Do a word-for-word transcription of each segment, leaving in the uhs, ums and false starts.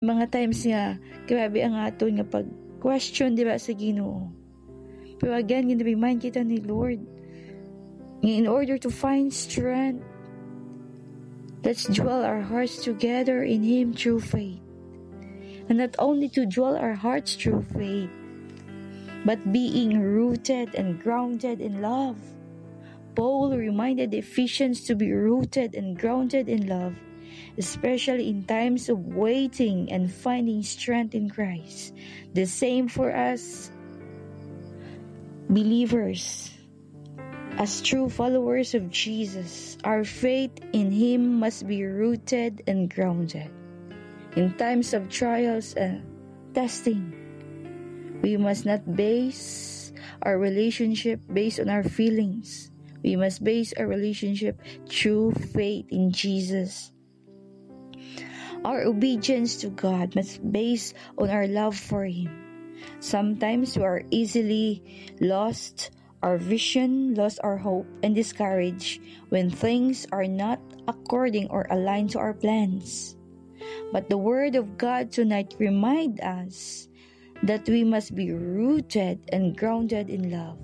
Mga times nga, grabe ang aton nga pag-question, di ba, sa Ginoo. Pero again, gin-remind kita ni Lord nga in order to find strength, let's dwell our hearts together in Him through faith. And not only to dwell our hearts through faith, but being rooted and grounded in love. Paul reminded the Ephesians to be rooted and grounded in love, especially in times of waiting and finding strength in Christ. The same for us believers. As true followers of Jesus, our faith in Him must be rooted and grounded. In times of trials and testing, we must not base our relationship based on our feelings. We must base our relationship through faith in Jesus. Our obedience to God must base on our love for Him. Sometimes we are easily lost our vision, lost our hope, and discouraged when things are not according or aligned to our plans. But the Word of God tonight remind us that we must be rooted and grounded in love.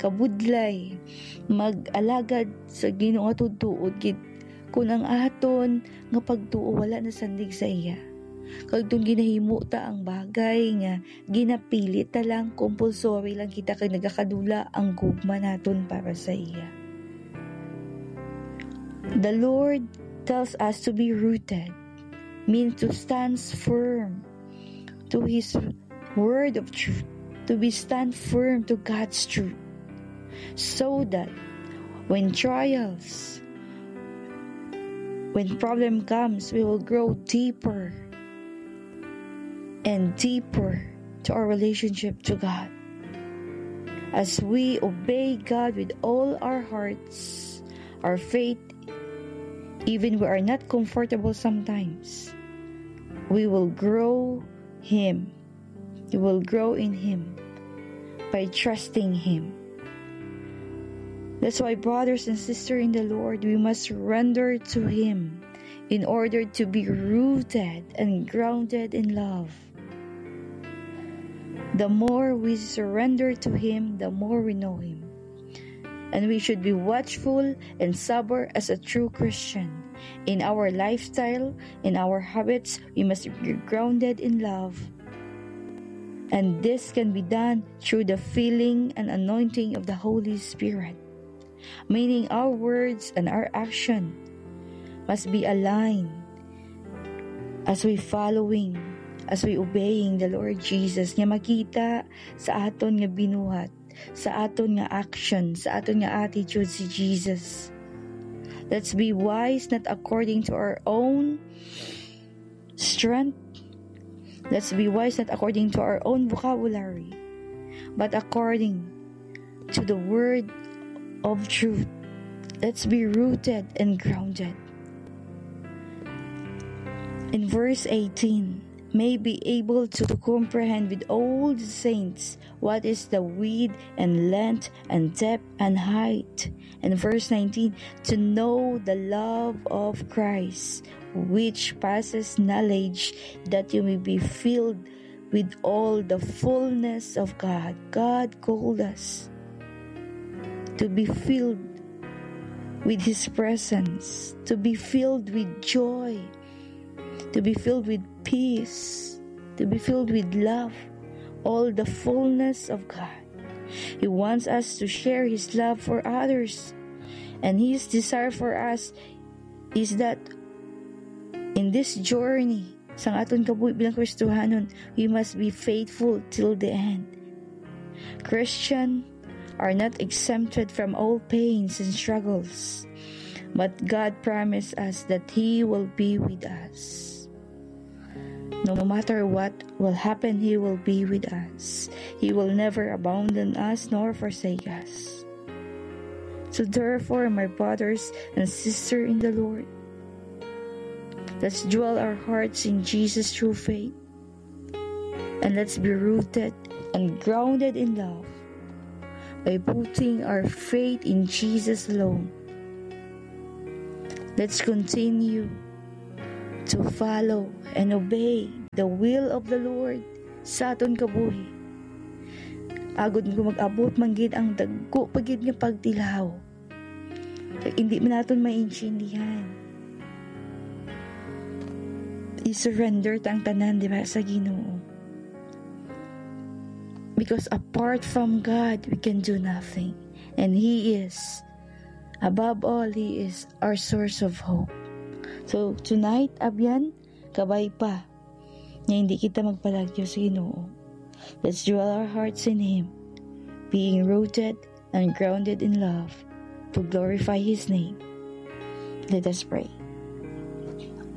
Kabudlay, mag-alagad sa Ginoo nga tuod-tuod gid kun ang aton nga pagtuo wala nasandig sa iya. Kag tun ginahimo ta ang bagay nga ginapilit ta lang, compulsory lang kita kay nagakadula ang gugma naton para sa iya. The Lord tells us to be rooted, means to stand firm to His word of truth, to be stand firm to God's truth, so that when trials, when problem comes, we will grow deeper and deeper to our relationship to God. As we obey God with all our hearts, our faith, even we are not comfortable sometimes, we will grow Him. We will grow in Him by trusting Him. That's why, brothers and sisters in the Lord, we must surrender to Him in order to be rooted and grounded in love. The more we surrender to Him, the more we know Him. And we should be watchful and sober as a true Christian. In our lifestyle, in our habits, we must be grounded in love. And this can be done through the filling and anointing of the Holy Spirit. Meaning, our words and our action must be aligned as we following, as we obeying the Lord Jesus, nga makita sa aton nga binuhat, sa aton nga action, sa aton nga attitude si Jesus. Let's be wise, not according to our own strength. Let's be wise, not according to our own vocabulary, but according to the word of truth. Let's be rooted and grounded. In verse eighteen, may be able to, to comprehend with all the saints what is the width and length and depth and height. And verse nineteen, to know the love of Christ, which passes knowledge, that you may be filled with all the fullness of God. God called us to be filled with His presence, to be filled with joy, to be filled with peace, to be filled with love, all the fullness of God. He wants us to share His love for others. And His desire for us is that in this journey, sa aton kabuhi bilang Kristohanon, we must be faithful till the end. Christian are not exempted from all pains and struggles, but God promised us that He will be with us. No matter what will happen, He will be with us. He will never abandon us nor forsake us. So therefore, my brothers and sisters in the Lord, let's dwell our hearts in Jesus through faith. And let's be rooted and grounded in love by putting our faith in Jesus alone. Let's continue to follow and obey the will of the Lord sa aton kabuhi. Agod nga mag-abot man gid ang dagko pa gid nga pagtilaw, kag hindi man naton maintindihan, i-surrender ta ang tanan diba sa Ginoo. Because apart from God, we can do nothing. And He is, above all, He is our source of hope. So tonight, abyan, kabay pa nga hindi kita magpalagyo sa Ginoo. Let's dwell our hearts in Him, being rooted and grounded in love to glorify His name. Let us pray.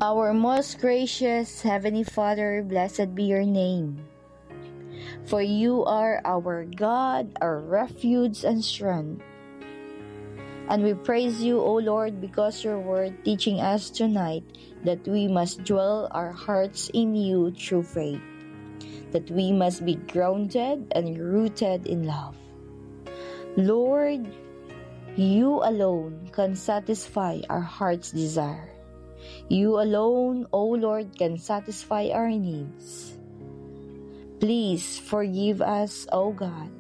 Our most gracious Heavenly Father, blessed be your name. For you are our God, our refuge and strength. And we praise you, O Lord, because your word teaching us tonight that we must dwell our hearts in you through faith, that we must be grounded and rooted in love. Lord, you alone can satisfy our heart's desire. You alone, O Lord, can satisfy our needs. Please forgive us, O God.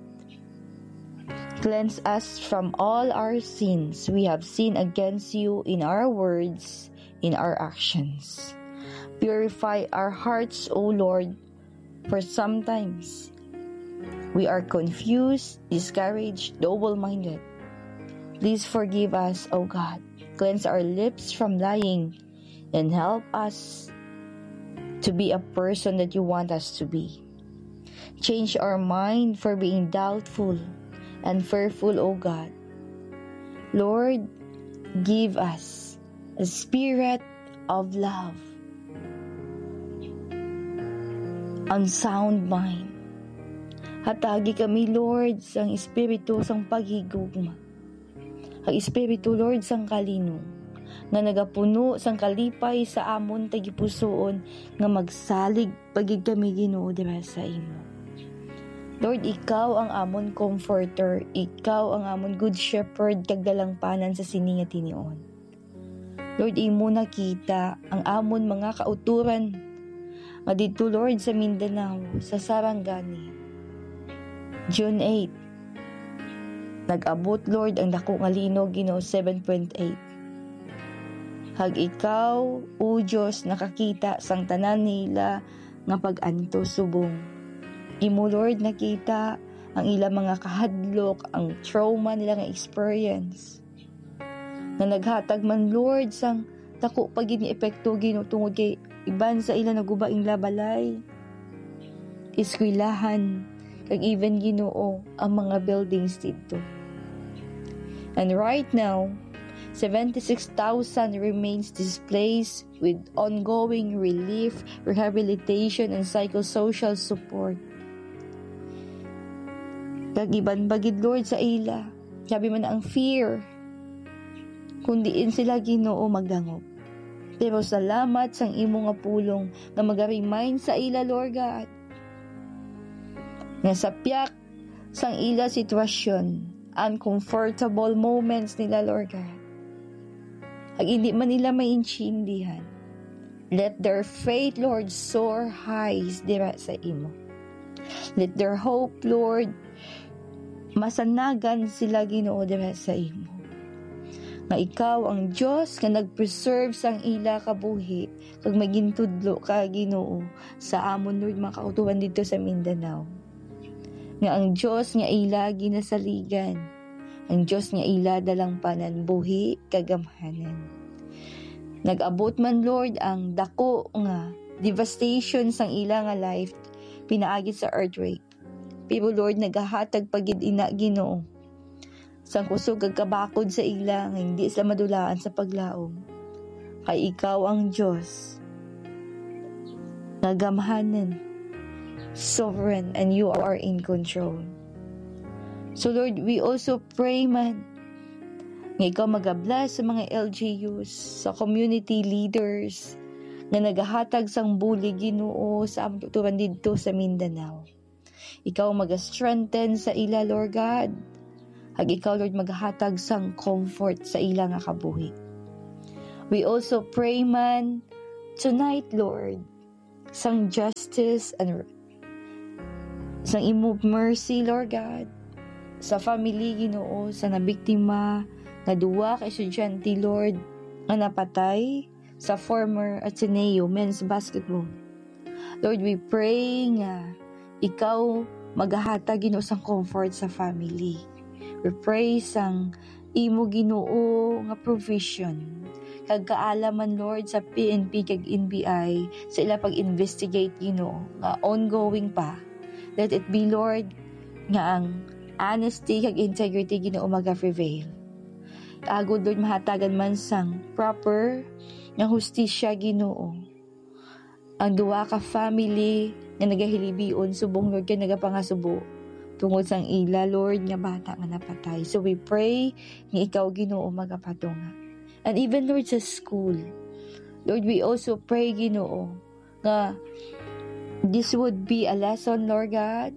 Cleanse us from all our sins we have sinned against you in our words, in our actions. Purify our hearts, O Lord, for sometimes we are confused, discouraged, double-minded. Please forgive us, O God. Cleanse our lips from lying and help us to be a person that you want us to be. Change our mind for being doubtful and fearful, O God. Lord, give us a spirit of love and sound mind. Hatagi kami, Lord, sang espiritu sang paghigugma, ang espiritu, Lord, sang kalinong, nga nagapuno sang kalipay sa amon tagipusoon, nga magsalig pa gid kami, Ginoo, dira sa imo. Lord, ikaw ang amon comforter, ikaw ang amon good shepherd kag dalangpanan sa sini nga tinion. Lord, imo nakita ang amon mga kauturan nga didto, Lord, sa Mindanao, sa Sarangani. June eight, nag-abot, Lord, ang dako nga linog, Ginoo, seven point eight. Kag ikaw, O Dios, nakakita sang tanan nila nga pag-antos subong. Imo, Lord, nakita ang ila mga kahadlok, ang trauma nila nga experience, nga naghatag man, Lord, sang dako pa gid nga epekto, Ginoo, tungod kay iban sa ila naguba ang ila balay, eskwelahan, kag even, Ginoo, ang mga buildings didto. And right now, seventy-six thousand remains displaced with ongoing relief, rehabilitation, and psychosocial support. Kag iban pa gid, Lord, sa ila, grabe man ang fear kung diin sila, Ginoo, magdangop. Pero salamat sang imo nga pulong nga maga-remind sa ila, Lord God, nga sa piyak sang ila sitwasyon, uncomfortable moments nila, Lord God, ag hindi man nila maintindihan, let their faith, Lord, soar high dira sa imo. Let their hope, Lord, masanagan sila, Ginoo, dira sa imo. Nga ikaw ang Dios nga nag-preserve sang ila kabuhi, kag magintudlo ka, Ginoo, sa amon, Lord, mga kautuhan didto sa Mindanao. Nga ang Dios nga ila ginasaligan, ang Dios nga ila dalangpanan, buhi kag gamhanan. Nag-abot man, Lord, ang dako nga devastation sang ila nga life pinaagi sa earthquake. Pero, Lord, nagahatag pa gid ina, Ginoo, sang kusog kag kabakod sa ila nga hindi sila madulaan sa paglaom. Kay ikaw ang Dios nga gamhanan, sovereign, and you are in control. So, Lord, we also pray man nga ikaw magabless sa mga L G Us, sa community leaders nga nagahatag sang bulig, Ginoo, sa amon kauturan didto sa Mindanao. Ikaw maga-strengthen sa ila, Lord God. Kag ikaw, Lord, magahatag sang comfort sa ila nga kabuhi. We also pray man tonight, Lord, sang justice and sang imo mercy, Lord God, sa family, Ginoo, sa nabiktima nga duwa ka estudyante, Lord, nga napatay sa former Ateneo men's basketball. Lord, we pray nga ikaw magahatag, Ginoo, sang comfort sa family. We pray sang imo, Ginoo, nga provision kag kaalaman, Lord, sa P N P kag N B I sa ila pag-investigate, Ginoo, nga ongoing pa. Let it be, Lord, nga ang honesty kag integrity, Ginoo, maga-prevail. Agod, Lord, mahatagan man sang proper nga hustisya, Ginoo, ang duha ka family nga nagahilibion subong, Lord, kay nagapangasubo tungod sang ila, Lord, nga bata nga napatay. So we pray nga ikaw, Ginoo, magapatunga. And even, Lord, sa school, Lord, we also pray, Ginoo, nga this would be a lesson, Lord God,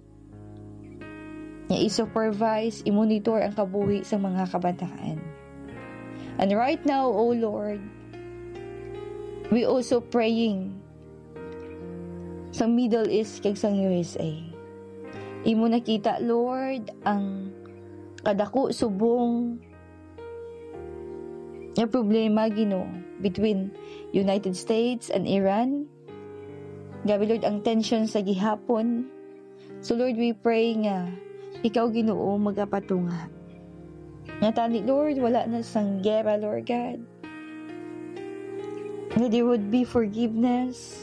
nga i-supervise, i-monitor ang kabuhi sa mga kabataan. And right now, O Lord, we also praying sa Middle East kag sa U S A. Imo nakita, Lord, ang kadako subong nga problema, Ginoo, between United States and Iran. Grabe, Lord, ang tension sa gihapon. So, Lord, we pray nga ikaw, Ginoo, magapatunga. Nga tani, Lord, wala na sang gera, Lord God. Nga there would be forgiveness,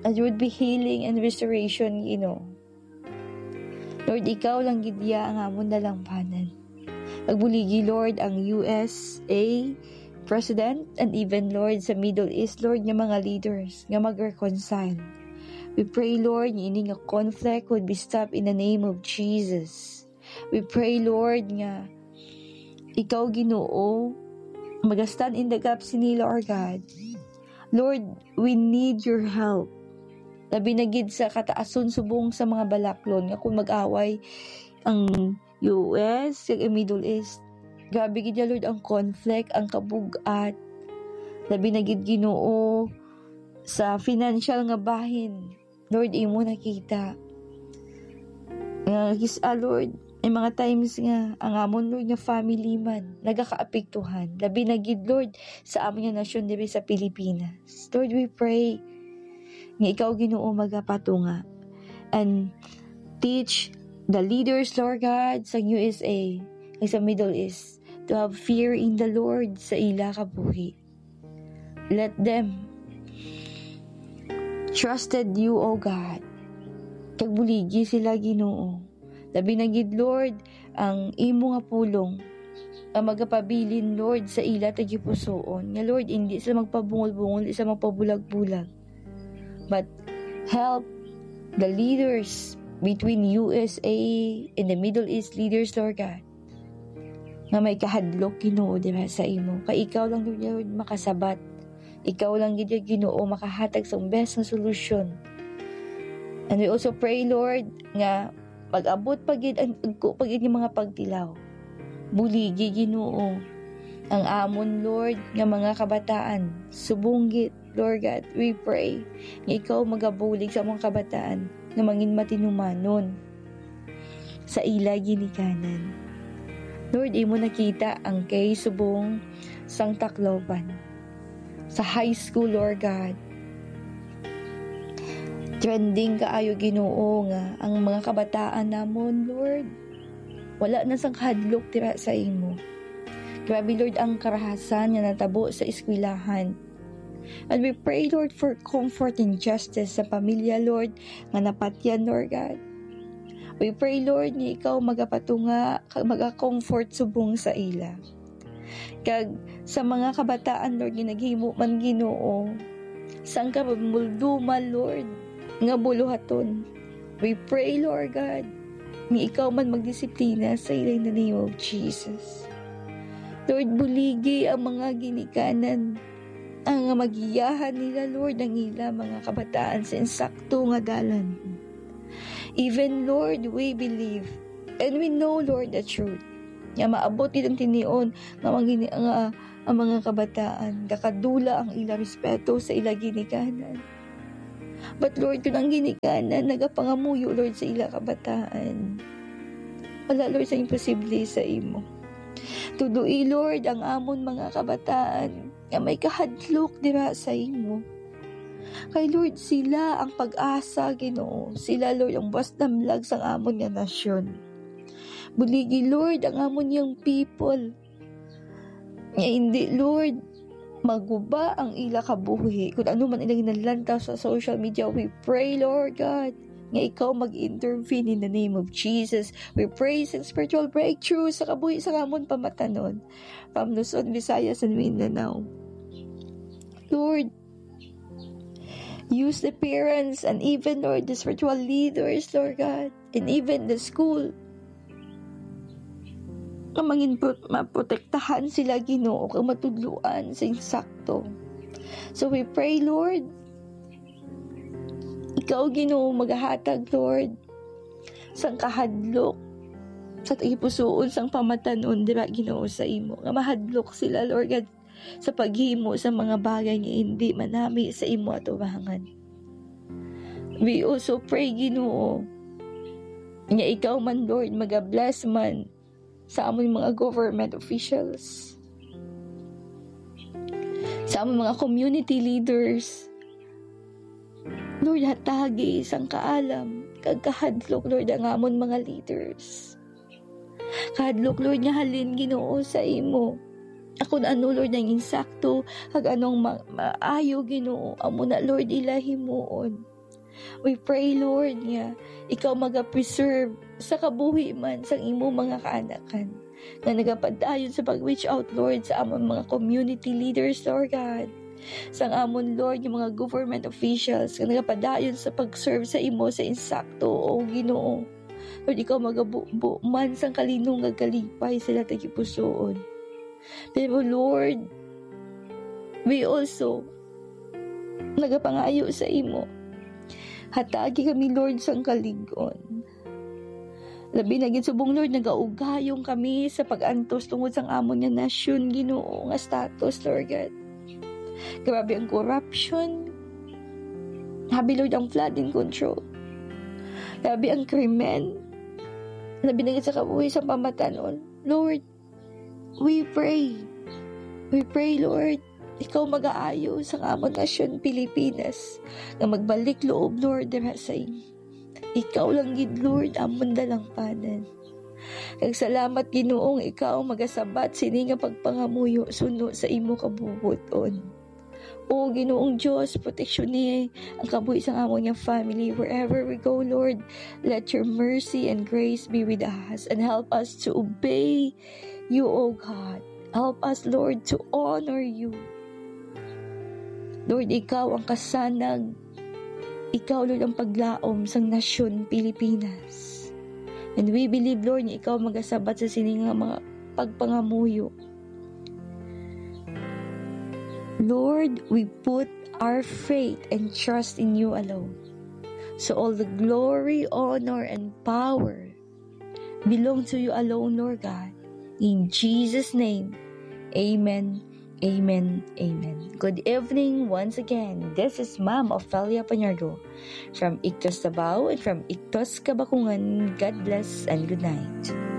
and there would be healing and restoration, Ginoo. Lord, ikaw lang gid iya ang amon dalangpanan. Pagbuligi, Lord, ang U S A President and even, Lord, sa Middle East, Lord, nga mga leaders nga mag-reconcile. We pray, Lord, nga ini nga conflict would be stopped in the name of Jesus. We pray, Lord, nga ikaw, Ginoo, maga-stand in the gap sini, Lord God. Lord, we need your help. Labi na gid sa kataason subong sa mga balaklon nga kung mag-away ang U S kag ang Middle East. Grabe gid ya, Lord, ang conflict, ang kabug-at. Labi na gid, Ginoo, sa financial nga bahin. Lord, imo nakita. Nga kis-, ah, Lord, may mga times nga ang amon, Lord, nga family man nagakaapektuhan. Labi na gid, Lord, sa amon nga nasyon diri sa Pilipinas. Lord, we pray nga ikaw, Ginoo, magapatunga and teach the leaders, Lord God, sa U S A kag sa Middle East to have fear in the Lord sa ila kabuhi. Let them trusted you, O God. Kag buligi sila, Ginoo. Labi na gid, Lord, ang imo nga pulong nga magapabilin, Lord, sa ila tagipusoon. Nga, Lord, indi sila magpabungol-bungol, indi sila magpabulag-bulag. But help the leaders between U S A and the Middle East leaders, Lord God, nga may kahadlok, Ginoo, diha sa imo. Kay ikaw lang, Lord, makasabat. Ikaw lang gid, Ginoo, makahatag sang best nga solusyon. And we also pray, Lord, nga mag-abot pa gid ang agko pa gid nga mga pagtilaw. Buligi, Ginoo, ang amon, Lord, nga mga kabataan. Subong gid, Lord God, we pray nga ikaw magabulig sa mga kabataan nga mangin matinumanon sa ila ginikanan. Lord, imo nakita ang case subong sang Tacloban. Sa high school, Lord God, trending kaayo, Ginoo, nga ang mga kabataan namon, Lord, wala na sang kahadlok dira sa imo. Grabe, Lord, ang karahasan nga natabo sa eskwelahan. And we pray, Lord, for comfort and justice sa pamilya, Lord, nga napatyan, Lord God. We pray, Lord, nga ikaw magapatunga kag maga-comfort subong sa ila. Kag sa mga kabataan, Lord, nga naghimo man, Ginoo, sang kabumulduman, Lord, nga buluhaton. We pray, Lord God, nga ikaw man magdisiplina sa ila in the name of Jesus. Lord, buligi ang mga ginikanan, ang nga magiyahan nila, Lord, ang ila mga kabataan sa insakto nga dalan. Even, Lord, we believe and we know, Lord, the truth. Nga maabot gid ang tinion nga mga gini-, nga ang mga kabataan, gakadula ang ila respeto sa ila ginikanan. But Lord, kung ang ginikanan nagapangamuyo, Lord, sa ila kabataan, wala, Lord, sa imposible sa imo. Tudloi, Lord, ang amon mga kabataan nga may kahadlok dira sa imo. Kay Lord, sila ang pag-asa, Ginoo. Sila, Lord, ang buwas damlag sang amon nga nasyon. Buligi, Lord, ang amon young people. Nga hindi, Lord, maguba ang ila kabuhi. Kung ano man ilang nalantaw sa social media, we pray, Lord God, nga ikaw mag-intervene in the name of Jesus. We pray sa spiritual breakthrough sa kabuhi sa amon pamatanon, from Luzon, Visayas, and Mindanao. Lord, use the parents and even, Lord, the spiritual leaders, Lord God, and even the school, nga mangin pro-, maprotektahan sila, Ginoo, kag matudloan sa insakto. So we pray, Lord, ikaw, Ginoo, magahatag, Lord, sang kahadlok sa tagipusoon sang pamatanon dira, Ginoo, sa imo, nga mahadlok sila, Lord God, sa paghimo sa mga bagay nga hindi manami sa imo atubangan. We also pray, Ginoo, nga ikaw man, Lord, maga-bless man sa amon mga government officials, sa amon mga community leaders. Lord, hatagi sang kaalam kag kahadlok, Lord, ang amon mga leaders. Kahadlok, Lord, nga halin, Ginoo, sa imo. Akon ano, Lord, ang insakto, kag anong ma-, maayo, Ginoo, amo na, Lord, ila himuon. We pray, Lord, nga ikaw magapreserve sa kabuhi man sang imo mga kaanakan nga nagapadayon sa pag-reach out, Lord, sa amon mga community leaders, Lord God, sang amon, Lord, nga mga government officials nga nagapadayon sa pag-serve sa imo sa insakto, O Ginoo. Lord, ikaw magabubo man sang kalinong kag kalipay sa ila tagipusoon. Pero, Lord, we also nagapangayo sa imo. Hatagi kami, Lord, sang kalig-on. Labi na gid subong, Lord, nagaugayong kami sa pag-antos tungod sang amon nga nasyon, Ginoo, nga status, Lord God. Grabe ang corruption. Grabe, Lord, ang flood in control. Grabe ang krimen. Labi na gid sa kabuhi sa pamatanon. Lord, we pray. We pray, Lord, ikaw magaayo sang amon nasyon, Pilipinas, nga magbalik loob, Lord, dira sa imo. Ikaw lang gid, Lord, amon dalangpanan. Kag salamat, Ginoong ikaw magasabat sini nga pagpangamuyo suno sa imo kabubuton. O Ginoong Dios, proteksyoni ang kabuhi sang amon nga family wherever we go, Lord. Let your mercy and grace be with us and help us to obey you, O God. Help us, Lord, to honor you. Lord, ikaw ang kasanag. Ikaw, Lord, ang paglaom sang nasyon Pilipinas. And we believe, Lord, nga ikaw magasabat sa sini nga mga pagpangamuyo. Lord, we put our faith and trust in you alone. So all the glory, honor, and power belong to you alone, Lord God. In Jesus' name, amen, amen, amen. Good evening once again. This is Ma'am Ofelia Pañardo from Ictus Davao and from Ictus Kabakungan. God bless and good night.